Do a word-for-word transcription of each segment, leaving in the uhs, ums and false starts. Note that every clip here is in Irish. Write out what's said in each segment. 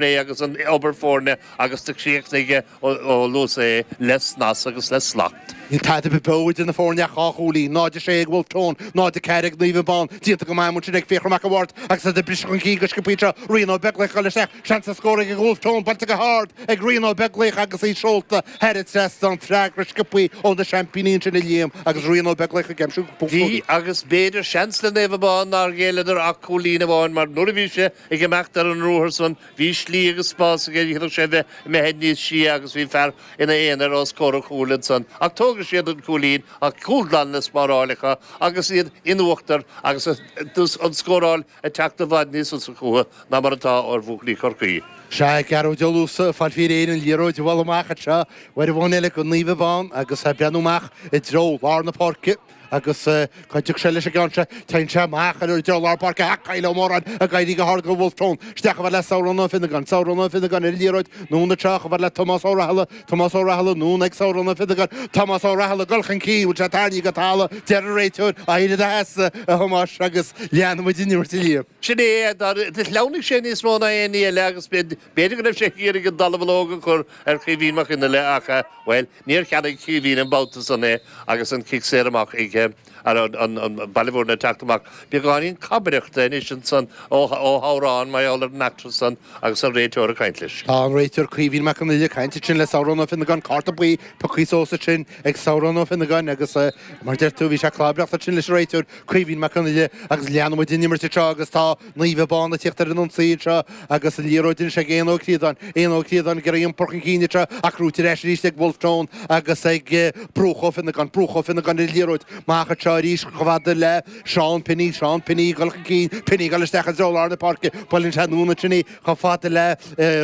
Agus an obair foirne agus do chríochnaigh Ó Luasa é le snas agus le slacht. Níl tada beo idir na foirne ach dhá chúilín, náid a sé ag Wolfe Tone, náid a ceathair ag Naomh Abán. Déanta go maith ansin ag Fiachra Mac a' Bhaird agus iad ag briseadh chun cinn go sciobtha anseo. Rian Ó Beaglaoich ag dul isteach, seans ar scór ag Wolfe Tone, buailte go hard ag Rian Ó Beaglaoich agus í seolta thar an trasnán. Freagra sciobtha ó na seaimpíní ansin a Liam agus Rian Ó Beaglaoich ag aimsiú poc. Bhí agus b'fhéidir seans le Naomh Abán nár ghéilleadar ach cúilín amháin mar nuair a bhí sé ag imeacht ar an ruathar san bhí slí agus spás aige, d'fhéadfadh sé bheith imithe níos sia agus bhí fear ina aonar os comhair an chúil ansan ach tógfaidh siad an cúilín ach cúl glan le spáráil acu agus iad in uachtar agus an scóráil ag teacht i bhfad níos fusa chucu ná mar atá ar bhuachaillí Chorcaí. Sea, Gearóid Ó Luasa ag fáil faoi réir an liathróid a bhualadh amach anseo uair amháin eile go Naomh Abán agus ag breathnú amach i dtreo lár na páirce. Agus cá dtiocfaidh sé leis an gceann seo? Téann sé amach ar i lár páirce ach Kyle Ó Móráin ag éirí go hard go Wolfe Tone. Isteach chomh fada le Sabhrán Ó Fionnagáin. Sabhrán Ó Fionnagáin ar an liathróid. Anonn anseo chomh fada le Tomás Ó Rathaille. Tomás Ó Rathaille anonn ag Sabhrán Ó Fionnagáin. Tomás Ó Rathaille ag dul chun cinn. Bhfuil sé tarraingthe go talamh? Deir an réiteoir, Éirigh i do sheasamh, a Thomáis, agus leanfaidh muid an imirt, a Liam. Sin é. Do shleamhnaigh sé níos mó ná aon ní eile agus b'fhéidir go raibh sé ag iarraidh an dallamullóg a chur ar Chaoimhín Mac Fhionnaile ach, bhuel, níor cheannaigh Caoimhín an babhta san é agus an cic saor amach ag an Baile Mhúirne ag teacht amach. Beagáinín cabaireachta anois ansan ó Shabhrán mar gheall ar an eachtra san agus an réiteoir ag caint leis. Tá an réiteoir Caoimhín Mac Con Uidhir ag caint ansin le Sabhrán Ó Fionnagáin, cárta buí pioctha suas ansin ag Sabhrán Ó Fionnagáin agus mar deir tú bhí sé ag clabaireacht ansin leis an réiteoir Caoimhín Mac Con Uidhir agus leanann muid an imirt anseo agus tá Naomh Abán ag tíocht ar an ionsaí anseo agus an liathróid anois ag Éanna Ó Críodáin. Éanna Ó Críodáin ag iarraidh iompar chun cinn anseo ach gnóthaithe ar ais arís ag Wolfe Tone agus ag Brúch Ó Fionnagáin. Brúch Ó Fionnagáin ar an liathróid. Amach anseo arís chomh fada le Seán Pinney. Seán Pinney ag dul chun cinn. Pinney ag dul isteach i dtreo lár na páirce. Buaileann sé anonn ansin í chomh fada le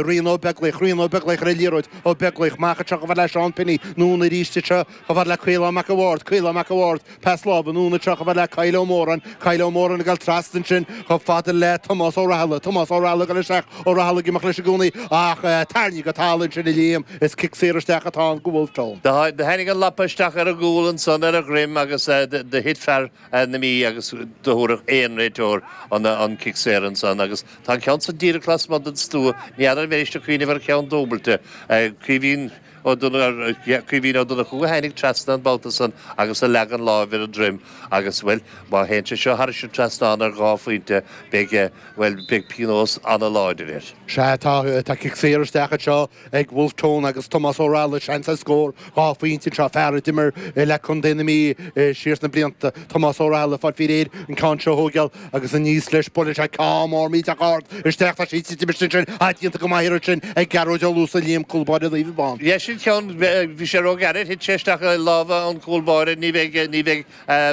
Rian Ó Beaglaoich. Rian Ó Beaglaoich ar an liathróid. Ó Beaglaoich amach anseo chomh fada le Seán Pinney. Anonn arís anseo chomh fada le Caolán Mac a' Bhaird. Caolán Mac a' Bhaird. Pas láimhe anonn anseo chomh fada le Kyle Ó Móráin. Kyle Ó Móráin ag dul trasna ansin chomh fada le Tomás Ó Rathaille. Tomás Ó Rathaille ag dul isteach. Ó Rathaille ag imeacht leis i gcónaí ach tarraingthe go talamh ansin a Liam. Is cic saor isteach atá ann go Wolfe Tone. Do tháinig an lapa isteach ar an gcúl ansan ar a dhroim agus do thit fear na Mí agus do thabharfadh aon réiteoir an cic saor ansan agus tá an ceann san díreach lasmuigh den stua. Ní fheadar an mbeidís ag cuimhneamh ar cheann dúbailte. Caoimhín Ó Caoimhín Ó Donnchú a tháinig trasna an babhta san agus a leag an láimh ar a dhroim agus, bhuel, má théann sé seo thairis an trasnán ar dhá phointe beidh, bhuel, beidh pionós ana-láidir air. Sea, tá, tá cic saor isteach anseo ag Wolfe Tone agus Tomás Ó Rathaille, seans ar scór dhá phointe anseo, fear a d'imir le contae na Mí siar sna blianta, Tomás Ó Rathaille, ag fáil faoi réir an ceann seo a thógáil agus aníos leis, buaileann sé ceann mór millteach ard isteach, tá sí ag titim istigh ansin, ah, déanta go maith ansin ag Gearóid Ó Luasa, Liam, cúl báire Naomh Abán. Yeah, sin ceann, bhí sé róghairid, thit sé isteach i lámha an chúl báire, ní bheidh, ní bheidh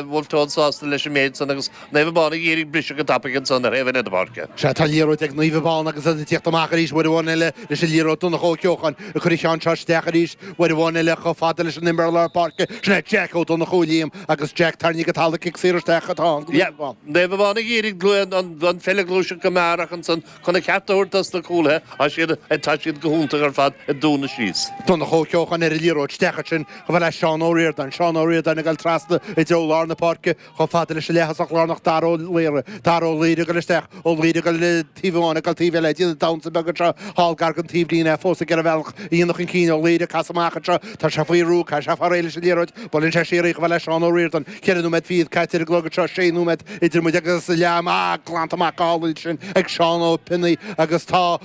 Wolfe Tone sásta leis an méid san agus Naomh Abán ag iarraidh briseadh go tapaidh ansan ar thaobh eile na páirce. Sea, tá liathróid ag Naomh Abán agus iad ag tíocht amach arís uair amháin eile leis an liathróid, Donncha Ó Ceocháin ag cur an cheann seo isteach arís uair amháin eile chomh fada leis an imreoir lár páirce, sin é Jack Ó Donnchú, Liam, agus Jack tarraingthe go talamh, cic saor isteach atá ann go Naomh Abán. Naomh Abán ag iarraidh an pheil a ghluaiseacht go mear ach ansan chun a cheart a thabhairt dos na cúlaithe, tá siad, tá siad go hiontach ar fad ag dúnadh síos. Donncha Ó Ceocháin ar an liathróid, isteach ansin chomh fada le Seán Ó Ríordáin, Seán Ó Ríordáin ag dul trasna i dtreo lár na páirce chomh fada leis an leath-thosach lárnach Dara Ó Laoire, Dara Ó Laoire ag dul isteach, Ó Laoire ag dul taobh amháin ag dul taobh eile, ag déanamh damhsa beag anseo thall gar don taobhlíne, é fós ag iarraidh a bhealach a dhéanamh chun cinn, Ó Laoire ag casadh amach anseo, tá sé faoi bhrú, caithfidh sé fáil réidh leis an liathróid, buaileann sé siar í chomh fada le Seán Ó Ríordáin, ceithre nóiméad fichead caite ar an gclog anseo, sé nóiméad idir muid agus leath ama, ah, glanta amach go hálainn sin ag Seán Ó Pionnaí agus tá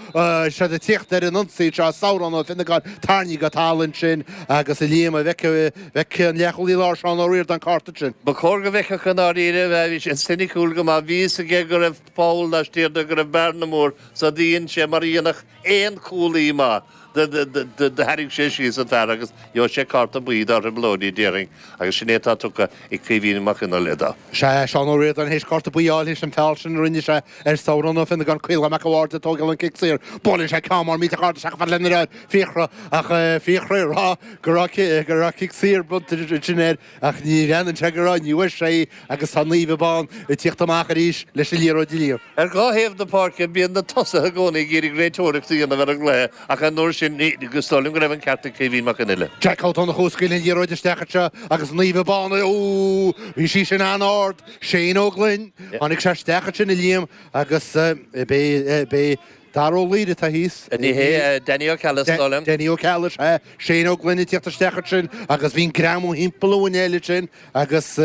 siad ag tíocht ar an ionsaí anseo, Sabhrán Ó Fionnagáin tarraingthe go talamh ansin agus a Liam, an bhfeicfidh an leathchúlaí láir Seán Ó Ríordáin cárta ansin. Ba chóir go bhfeicfeadh i ndáiríre, bhí sé soiniciúil go maith, bhí fhios aige go raibh poll laistiar de, go raibh bearna mór, so dhein sé mar a dhéanfadh aon chúlaí maith. Do tharraing sé síos an fear agus gheobhaidh sé cárta buí dá thrioblóidí, déarfainn, agus sin é atá tugtha ag Caoimhín Mac Fhionnaile dó. Sea, Seán Ó Ríordáin théis cárta buí a fháil théis an feall sin a rinne sé ar Sabhrán Ó Fionnagáin, Caolán Mac a' Bhaird ag tógáil an cic saor. Buaileann sé ceann mór millteach ard isteach chomh fada lena dheartháir, Fiachra, ach Fiachra ag rá go raibh go raibh cic saor bronnta ansin air ach ní bhreathnaíonn sé go raibh, ní bhfuair sé í agus tá Naomh Abán ag tíocht amach arís leis an liathróid a Liam. Ar dhá thaobh na páirce, bíonn na tosaithe i gcónaí ag iarraidh réiteoireacht a dhéanamh ar an gcluiche ach an uair sin, is dóigh liom go raibh an ceart ag Caoimhín Mac Fhionnaile. Jack Ó Donnchú ag scaoileadh an liathróid isteach anseo agus Naomh Abán, Ó! Bhí sí sin an-ard! Shane Ó Gloinn, tháinig sé isteach ansin a Liam agus beidh, beidh, Dara Ó Laoire atá thíos. Ní hé Danny Ó Ceallaigh is dóigh liom. Danny Ó Ceallaigh, sea. Shane Ó Gloinn ag tíocht isteach ansin agus bhí an greamú thimpeall a mhuinéil ansin agus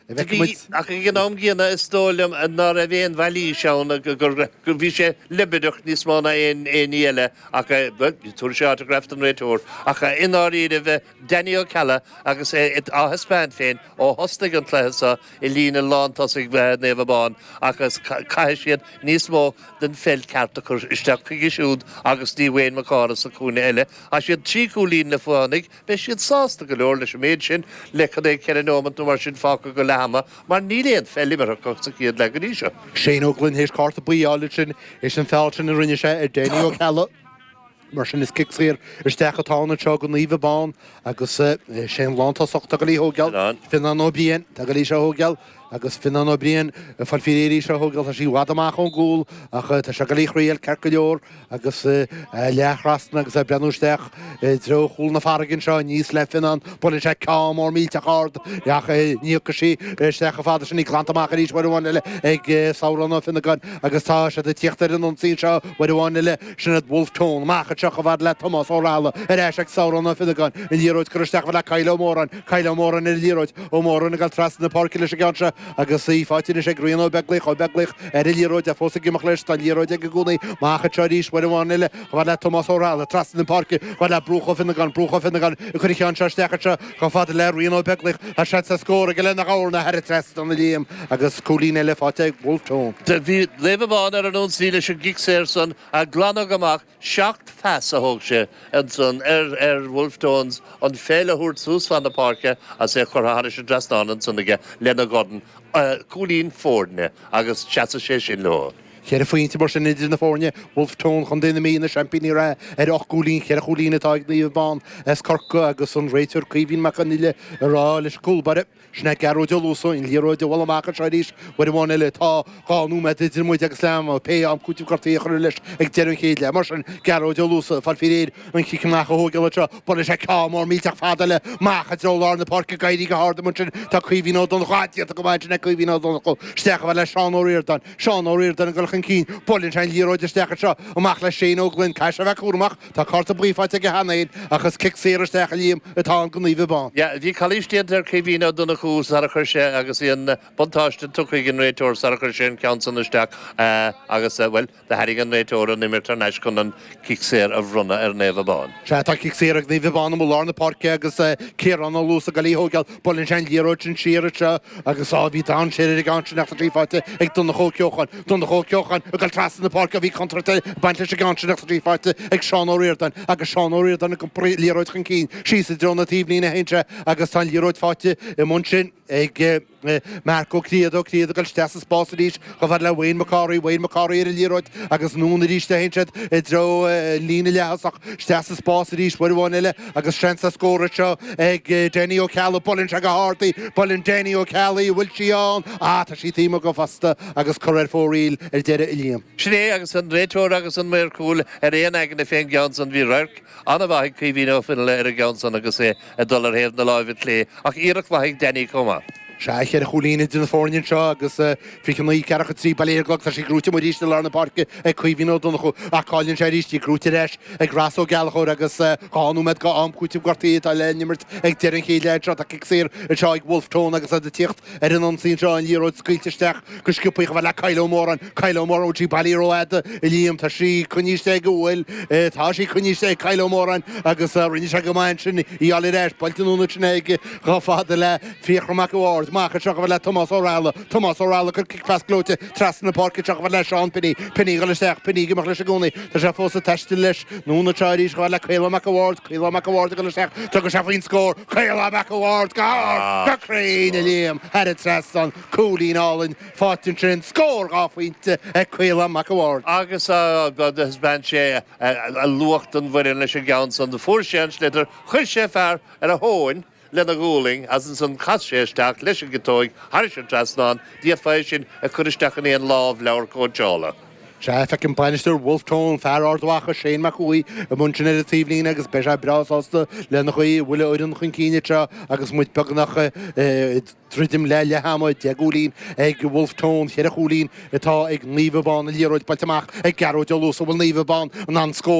Bhí, ach ag an am gcéanna is dóigh liom ná raibh aon mhailís ann gur gur bhí sé leibideach níos mó ná aon aon ní eile ach bhuel tabharfaidh sé autograph don réiteoir ach i ndáiríribh Danny Ó Ceallaigh agus é á thaispeáint féin ó thosnaigh an cluiche seo i líne lántosaigh Naomh Abán agus caithfidh siad níos mó den pheil ceart a chur isteach chuige siúd agus dtí Wayne Mac Cárthaigh sa chúinne eile. Tá siad trí chúilín le fánaigh, beidh siad sásta go leor leis an méid sin, le cad é ceithre nóimeant nó mar sin fágtha go leath ama, mar níl aon pheil imeartha acu sa chéad leath go dtí seo. Shane Ó Gloinn théis cárta buí a fháil ansin, théis an feall sin a rinne sé ar Danny Ó Ceallaigh. Mar sin is cic saor isteach atá ann anseo go Naomh Abán agus sé an lántosach atá ag dul í a thógáil, Fionnán Ó Briain, atá ag dul í seo a thógáil agus Fionnán Ó Briain ag fáil faoi réir í seo a thógáil, tá sí i bhfad amach ón gcúl ach tá sé ag dul í a thriail ceart go leor agus leath-thrasna agus é ag breathnú isteach i dtreo chúl na farraige anseo aníos le Fionnán, buaileann sé ceann mór millteach ard ach ní thiocfaidh sí isteach chomh fada sin, í glanta amach arís uair amháin eile ag Sabhrán Ó Fionnagáin agus tá siad ag tíocht ar an ionsaí anseo uair amháin eile, sin iad Wolfe Tone amach anseo chomh fada le Tomás Ó Raghallaigh ar ais ag Sabhrán Ó Fionnagáin, an liathróid curtha isteach chomh fada le Kyle Ó Móráin, Kyle Ó Móráin ar an liathróid, Ó Móráin ag dul trasna na páirce leis an gceann seo agus í faighte anois ag Rian Ó Beaglaoich, Ó Beaglaoich ar an liathróid, é fós ag imeacht leis, tá an liathróid aige i gcónaí, amach anseo arís uair amháin eile, chomh fada le Tomás Ó Raghallaigh, trasna na páirce, chomh fada le Brúch Ó Fionnagáin, Brúch Ó Fionnagáin ag cur an cheann seo isteach anseo chomh fada le Rian Ó Beaglaoich, tá seans ar scór aige lena dhorn thar an trasnán a Liam agus cúilín eile faighte ag Wolfe Tone. Bhí Naomh Abán ar an ionsaí leis an gcic saor san a glanadh amach Seacht phas a thóg sé ansan ar ar Wolfe Tones an pheil a thabhairt suas fan na páirce agus é curtha thairis an dtrasnán ansan aige lena dhorn, cúilín foirne agus seasfaidh sé sin leo. Ceithre phointe mar sin idir na foirne, Wolfe Tone Chontae na Mí, na seaimpíní reatha ar ocht gcúilín, ceithre chúilín atá ag Naomh Abán as Corcaigh agus an réiteoir Caoimhín Mac Conghail ag rá leis an gcúlbáire. Sin é Gearóid Ó Luasa, an liathróid a bhualadh amach anseo arís uair amháin eile. Tá dhá nóiméad idir muid agus leath ama, pé am cúitimh gortaithe a chur leis ag deireadh an chéad leath. Mar sin, Gearóid Ó Luasa, ag fáil faoi réir an chic amach a thógáil anseo. Buaileann sé ceann mór millteach fada eile amach i dtreo lár na páirce ag éirí go hard amuigh ansin. Tá Caoimhín Ó Donnchú, ah, déanta go maith ansin ag Caoimhín Ó Donnchú. Isteach chomh fada le Seán Ó Ríordáin. Seán Ó Ríordáin ag dul chun cinn. Buaileann sé an liathróid isteach anseo, amach le Shane Ó Gloinn. Caithfidh sé a bheith cúramach. Tá cárta buí faighte aige cheana féin ach is cic saor isteach a Liam atá ann go Naomh Abán. Yeah, bhí calaois déanta ar Caoimhín Ó Donnchú sar a chuir sé agus bhí an buntáiste tugtha ag an réiteoir sar a chuir sé an ceann san isteach agus, bhuel, do tharraing an réiteoir an imirt thar n-ais chun an cic saor a bhronnadh ar Naomh Abán. Sea, tá cic saor ag Naomh Abán amuigh lár na páirce agus Ciarán Ó Luasa ag dul í a thógáil. Buaileann sé an liathróid sin siar anseo agus, á, bhí dainséar ar an gceann sin ach tá sí faighte ag Donncha Ó Ceocháin. Donncha Ó Ceocháin ag dul trasna na páirce, bhí contúirt ag baint leis an gceann sin ach tá sí faighte ag Seán Ó Ríordáin agus Seán Ó Ríordáin ag iompar an liathróid chun cinn síos i dtreo na taobhlíne a théann sé agus tá an liathróid faighte i mbun sin ag Marc Ó Cliad, Ó Cliad ag dul isteach sa spás arís chomh fada le Wayne McCorry, Wayne McCorry ar an liathróid agus anonn arís a théann siad i dtreo líne leath-thosach isteach sa spás arís uair amháin eile agus seans ar scór anseo ag Danny Ó Ceallaigh, buaileann sé go hard í, buaileann Danny Ó Ceallaigh, an bhfuil sí ann? Ah, tá sí taobh amuigh go fosta agus cur ar fóraoil ar deireadh a Liam. Sin é agus an réiteoir agus an maor cúil ar aon aigne fén gceann san. Bhí radharc an-mhaith ag Caoimhín Ó Fionnghaile ar an gceann san agus é ag dul ar thaobh na láimhe clé ach iarracht mhaith ag Danny chomh maith. Sea, cheithre chúilín idir na foirne anseo agus fiche naoi, ceathracha trí, bail ó Dhia ar an gclog, tá sí gnóite amuigh arís i lár na páirce ag Caoimhín Ó Donnchú ach cailleann sé arís í, gnóite ar ais ag Ross Ó Gallchóir agus dhá nóiméad go am cúitimh gortaithe atá le n-imirt ag deireadh an chéad leath anseo. Tá cic saor anseo ag Wolfe Tone agus iad ag tíocht ar an ionsaí anseo, an liathróid scaoilte isteach go sciobtha chomh fada le Kyle Ó Móráin. Kyle Ó Móráin, bhfuil sí bailithe rófhada, a Liam? Tá sí coinnithe istigh aige, bhfuil? Tá sí coinnithe istigh ag Kyle Ó Móráin agus rinne sé go maith ansin í a fháil ar ais. Buailte anonn ansin aige chomh fada le Fiachra Mac a' Bhaird. Amach anseo chomh fada le Tomás Ó Raghallaigh. Tomás Ó Raghallaigh ag cur cic pas gleoite trasna na páirce anseo chomh fada le Seán Pinney. Pinney ag dul isteach, Pinney ag imeacht leis i gcónaí. Tá sé fós ag taisteal leis. Anonn anseo arís chomh fada le Caolán Mac a' Bhaird. Caolán Mac a' Bhaird ag dul isteach. Tugann sé faoin scór. Caolán Mac a' Bhaird go hard, go cruinn, a Liam, thar an trasnán. Cúilín álainn faighte ansin. Scór dhá phointe ag Caolán Mac a' Bhaird. Agus thaispeáin sé a luach don bhfoireann leis an gceann san. Fuair sé an sliotar, chuir sé fear ar a thóin lena ghualainn agus ansan chas sé isteach leis an gciotóig thairis an trasnán. D'fhéadfá é sin a chur isteach in aon lámhleabhar cóitseála. Sea, feicim bainisteoir Wolfe Tone, fear Ard Mhacha, Shane Mac Cumhaigh, i mbun sin ar an taobhlíne agus beidh sé breá sásta lena chaoi a bhfuil a fhoireann chun cinn anseo agus muid beagnach ag druidim le leath ama, deich gcúilín ag Wolfe Tone, cheithre chúilín atá ag Naomh Abán, an liathróid buailte amach ag Gearóid Ó Luasa, bhfuil Naomh Abán in ann scór